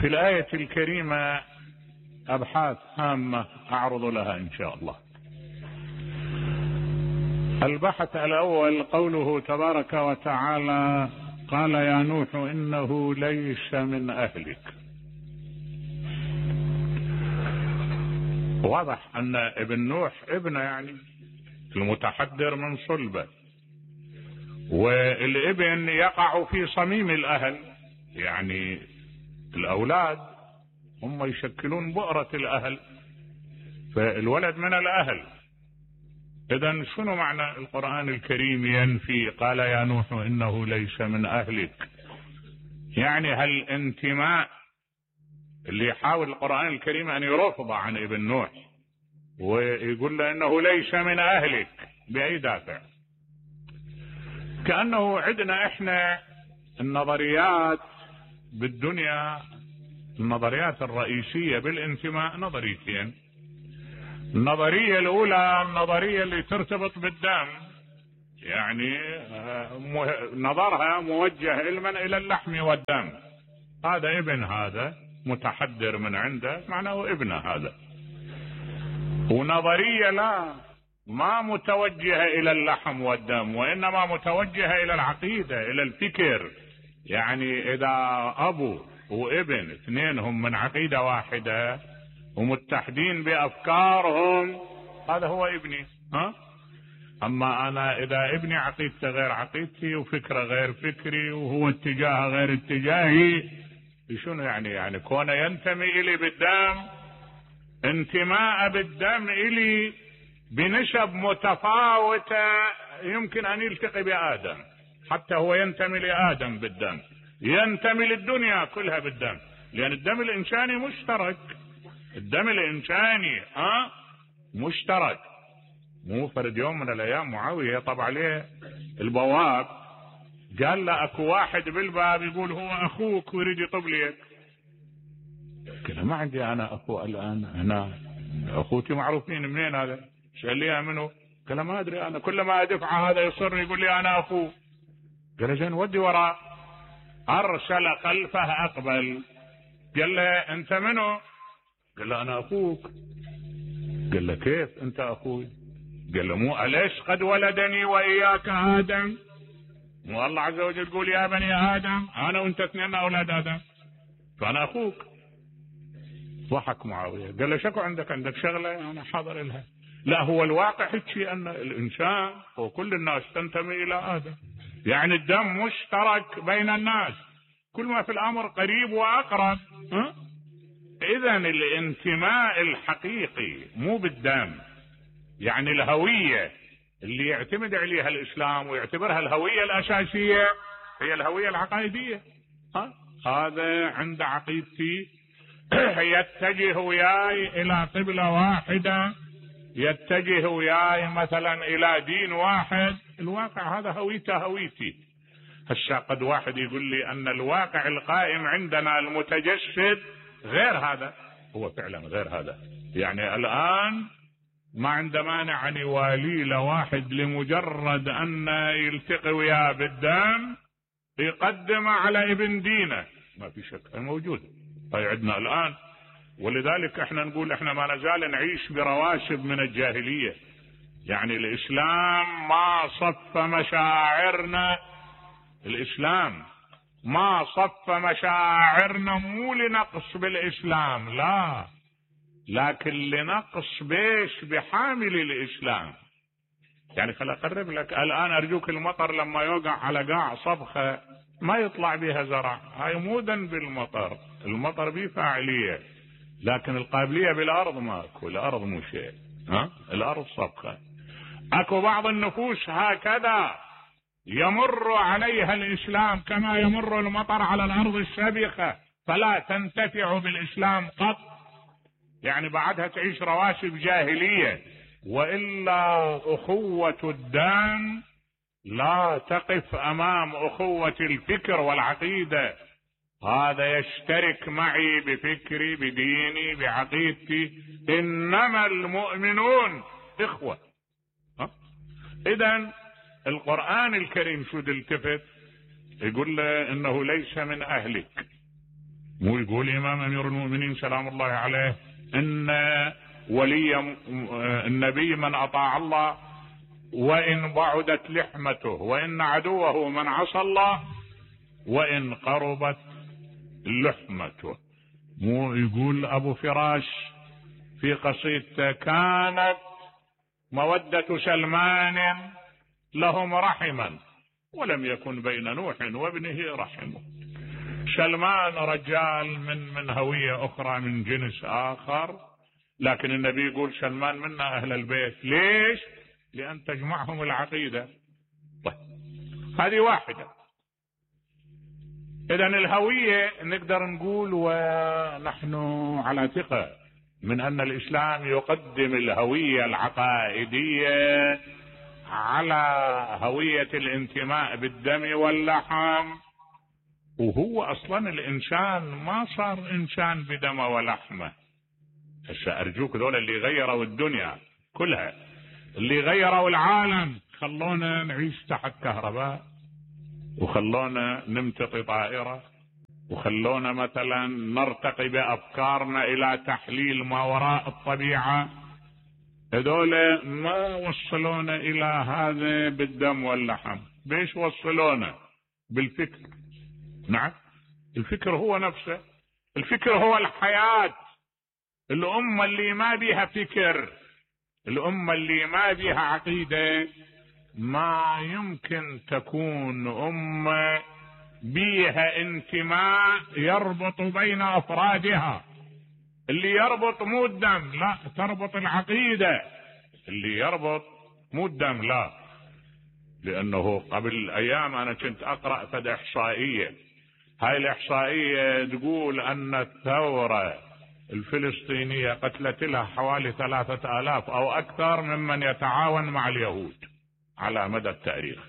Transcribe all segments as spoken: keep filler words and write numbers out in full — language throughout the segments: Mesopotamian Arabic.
في الآية الكريمة أبحاث هامة أعرض لها إن شاء الله. البحث الأول قوله تبارك وتعالى: قال يا نوح إنه ليس من أهلك. واضح أن ابن نوح ابنه، يعني المتحدر من صلبه، والابن يقع في صميم الأهل، يعني الأولاد هم يشكلون بؤرة الأهل، فالولد من الأهل. إذن شنو معنى القرآن الكريم ينفي قال يا نوح إنه ليس من أهلك؟ يعني هل الانتماء اللي يحاول القرآن الكريم أن يرفض عن ابن نوح ويقول له إنه ليس من أهلك بأي دافع؟ كأنه عندنا إحنا النظريات بالدنيا، النظريات الرئيسية بالانتماء نظريتين. النظرية الأولى النظرية اللي ترتبط بالدم، يعني نظرها موجه علما إلى اللحم والدم، هذا ابن هذا متحدر من عنده معناه ابن هذا. ونظرية لا، ما متوجهة إلى اللحم والدم، وإنما متوجهة إلى العقيدة، إلى الفكر. يعني إذا أبو وابن اثنينهم من عقيدة واحدة ومتحدين بأفكارهم، هذا هو ابني. ها؟ أما أنا إذا ابني عقيدته غير عقيدتي وفكره غير فكري وهو اتجاهه غير اتجاهي، شنو يعني؟ يعني كونه ينتمي إلي بالدم، انتماء بالدم إلي بنسب متفاوتة، يمكن أن يلتقي بآدم، حتى هو ينتمي لآدم بالدم، ينتمي للدنيا كلها بالدم، لأن الدم الإنساني مشترك. الدم الإنساني ها مشترك. مو فرد يوم من الأيام معاوية طبع عليه البواب، قال له أكو واحد بالباب يقول هو أخوك ويريد يطب ليك. قال ما عندي أنا أخو الآن هنا، أخوتي معروفين. منين هذا؟ سأل لي منه؟ قال ما أدري أنا، كل ما أدفع هذا يصر يقول لي أنا أخوه. قال زين ودي وراء. أرسل خلفه أقبل، قال له أنت منه؟ قال له أنا أخوك. قال له كيف أنت أخوي؟ قال له مو أليس قد ولدني وإياك آدم؟ مو الله عز وجل يقول يا بني آدم أنا وأنت اثنين أولاد آدم، فأنا أخوك. ضحك معاوية، قال له شكو عندك عندك شغلة أنا حاضر لها. لا، هو الواقع هيك أن الإنسان وكل الناس تنتمي إلى آدم، يعني الدم مشترك بين الناس، كل ما في الأمر قريب وأقرب. ها؟ إذن الانتماء الحقيقي مو بالدم، يعني الهوية اللي يعتمد عليها الإسلام ويعتبرها الهوية الأساسية هي الهوية العقائدية. ها؟ هذا عند عقيدتي يتجه وياي إلى قبلة واحدة، يتجه وياي مثلا إلى دين واحد. الواقع هذا هويته هويتي. هسه قد واحد يقول لي أن الواقع القائم عندنا المتجسد غير هذا، هو فعلا غير هذا. يعني الآن ما عنده مانع أن يوالي له واحد لمجرد أن يلتقي وياه بالدم يقدم على ابن دينه، ما في شك موجود. هاي عندنا الآن، ولذلك احنا نقول احنا ما نزال نعيش برواسب من الجاهلية. يعني الإسلام ما صف مشاعرنا، الإسلام ما صف مشاعرنا مو لنقص بالإسلام، لا، لكن لنقص بيش بحامل الإسلام. يعني خل أقرب لك الآن، أرجوك المطر لما يوقع على قاع صبخة ما يطلع بها زرع، هاي مو ذنب المطر، المطر بيه فاعلية، لكن القابلية بالأرض ماكو، الأرض مو شيء. ها؟ الأرض صبخة. أكو بعض النفوس هكذا يمر عليها الإسلام كما يمر المطر على الأرض السابخة، فلا تنتفع بالإسلام قط، يعني بعدها تعيش رواسب جاهلية. وإلا أخوة الدم لا تقف أمام أخوة الفكر والعقيدة. هذا يشترك معي بفكري بديني بعقيدتي، إنما المؤمنون إخوة. إذن القرآن الكريم شو التفت يقول له إنه ليس من أهلك، مو يقول إمام أمير المؤمنين سلام الله عليه إن ولي النبي من أطاع الله وإن بعدت لحمته، وإن عدوه من عصى الله وإن قربت لحمته. مو يقول أبو فراش في قصيدته كانت مودة سلمان لهم رحما ولم يكن بين نوح وابنه رحم. سلمان رجال من من هوية أخرى من جنس آخر، لكن النبي يقول سلمان منا أهل البيت. ليش؟ لأن تجمعهم العقيدة. طيب هذه واحدة. إذن الهوية نقدر نقول ونحن على ثقة من أن الإسلام يقدم الهوية العقائدية على هوية الانتماء بالدم واللحم. وهو أصلا الإنسان ما صار إنسان بدم ولحمة. هسه أرجوك دول اللي غيروا الدنيا كلها، اللي غيروا العالم، خلونا نعيش تحت كهرباء، وخلونا نمتطي طائرة، وخلونا مثلا نرتقي بأفكارنا إلى تحليل ما وراء الطبيعة. هذول ما وصلونا إلى هذا بالدم واللحم. بيش وصلونا؟ بالفكر. نعم، الفكر هو نفسه، الفكر هو الحياة. الأمة اللي ما بيها فكر، الأمة اللي ما بيها عقيدة، ما يمكن تكون أمة بيها انتماء يربط بين أفرادها. اللي يربط مو الدم، لا، تربط العقيدة. اللي يربط مو الدم، لا. لأنه قبل أيام أنا كنت أقرأ فد إحصائية، هاي الإحصائية تقول أن الثورة الفلسطينية قتلت لها حوالي ثلاثة آلاف أو أكثر ممن يتعاون مع اليهود على مدى التاريخ.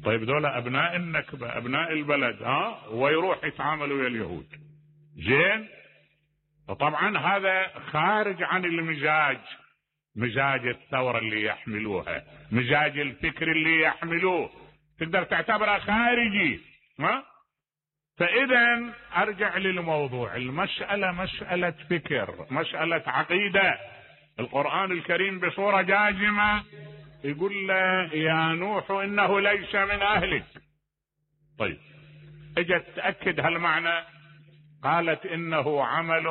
طيب دول أبناء النكبة، أبناء البلد، ها، ويروح يتعاملوا ويا اليهود. زين. وطبعا هذا خارج عن المزاج، مزاج الثورة اللي يحملوها، مزاج الفكر اللي يحملوه، تقدر تعتبره خارجي. ها؟ فإذا أرجع للموضوع، المسألة مسألة فكر، مسألة عقيدة. القرآن الكريم بصورة جازمة يقول له يا نوح إنه ليس من أهلك. طيب اجت تأكد هالمعنى، قالت إنه عمل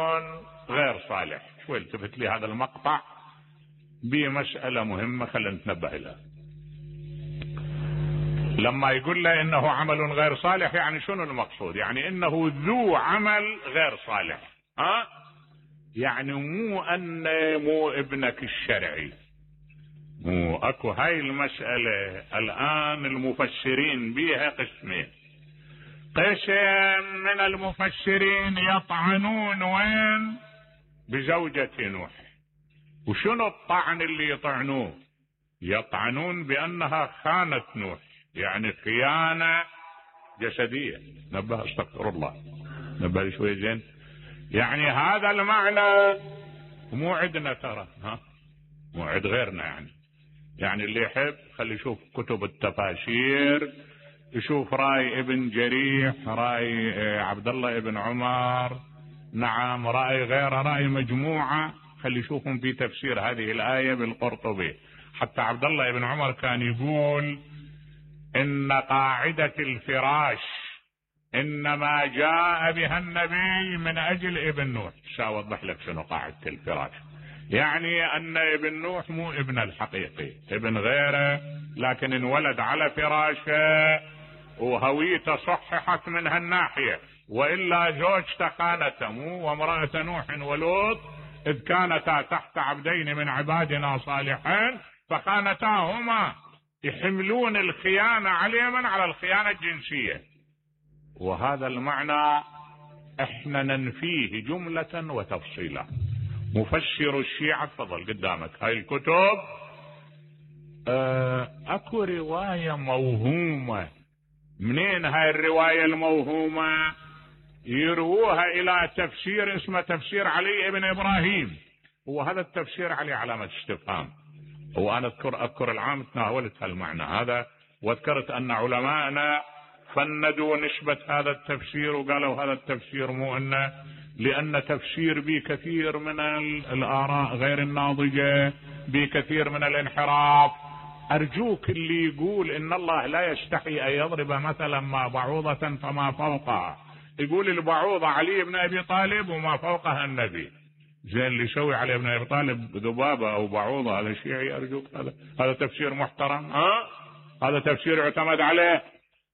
غير صالح. شوي التفت لي هذا المقطع بمسألة مهمة خلينا نتنبه لها. لما يقول له إنه عمل غير صالح، يعني شنو المقصود؟ يعني إنه ذو عمل غير صالح. ها؟ يعني مو أن مو ابنك الشرعي، مو أكو. هاي المسألة الآن المفسرين بيها قسمين. قسم من المفسرين يطعنون وين؟ بزوجة نوح. وشنو الطعن اللي يطعنوه؟ يطعنون بأنها خانت نوح، يعني خيانة جسدية. نبه، استغفر الله، نبه شوي زين. يعني هذا المعنى مو عندنا ترى، ها، مو عند غيرنا. يعني يعني اللي يحب خلي يشوف كتب التفاسير، يشوف رأي ابن جريح، رأي عبد الله ابن عمر، نعم، رأي غيره، رأي مجموعة، خلي يشوفهم في تفسير هذه الآية بالقرطبي. حتى عبد الله ابن عمر كان يقول إن قاعدة الفراش إنما جاء بها النبي من أجل ابن نوح. سأوضح لك شنو قاعدة الفراش. يعني أن ابن نوح مو ابن الحقيقي، ابن غيره، لكن انولد على فراشه وهويته صححت من هالناحية، وإلا زوجته خانته، مو وامرأة نوح ولوط إذ كانتا تحت عبدين من عبادنا صالحين فخانتاهما، يحملون الخيانة عليهم على الخيانة الجنسية. وهذا المعنى احنا ننفيه جملة وتفصيلا. مفسر الشيعة، تفضل قدامك هاي الكتب. اه اكو رواية موهومة. منين هاي الرواية الموهومة؟ يرووها الى تفسير اسمه تفسير علي ابن ابراهيم. هو هذا التفسير عليه علامة استفهام. هو انا اذكر اذكر العام تناولت هالمعنى هذا، واذكرت ان علماءنا فندوا نسبة هذا التفسير وقالوا هذا التفسير مو انه، لان تفسير به كثير من الاراء غير الناضجة، بكثير من الانحراف. ارجوك اللي يقول ان الله لا يستحي ان يضرب مثلا ما بعوضة فما فوقها، يقول البعوضة علي بن ابي طالب وما فوقها النبي. زين اللي يسوي علي بن ابي طالب ذبابة او بعوضة هذا شيعي؟ ارجوك هذا هذا تفسير محترم؟ ها هذا تفسير يعتمد عليه؟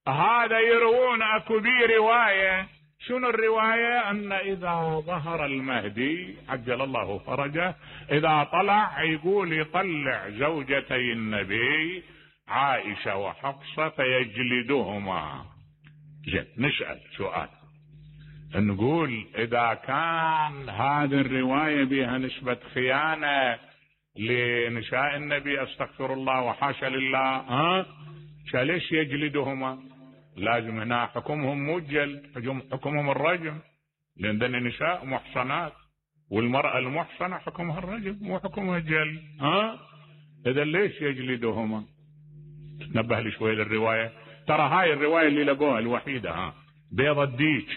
هذا يروون اكو بي رواية. شنو الرواية؟ ان اذا ظهر المهدي عجل الله فرجه، اذا طلع يقول يطلع زوجتي النبي عائشة وحفصة فيجلدهما. زين نسأل سؤال، نقول اذا كان هذه الرواية بها نسبة خيانة لنساء النبي استغفر الله وحاشا لله، ها ليش يجلدهما؟ لازم هنا حكمهم مو الجلد، حكمهم الرجم، لان ذن نساء محصنات، والمرأة المحصنة حكمها الرجم مو حكمها الجلد. ها اذا ليش يجلدهما؟ تنبه لي شوي للرواية، ترى هاي الرواية اللي لقوها الوحيدة، ها بيض الديك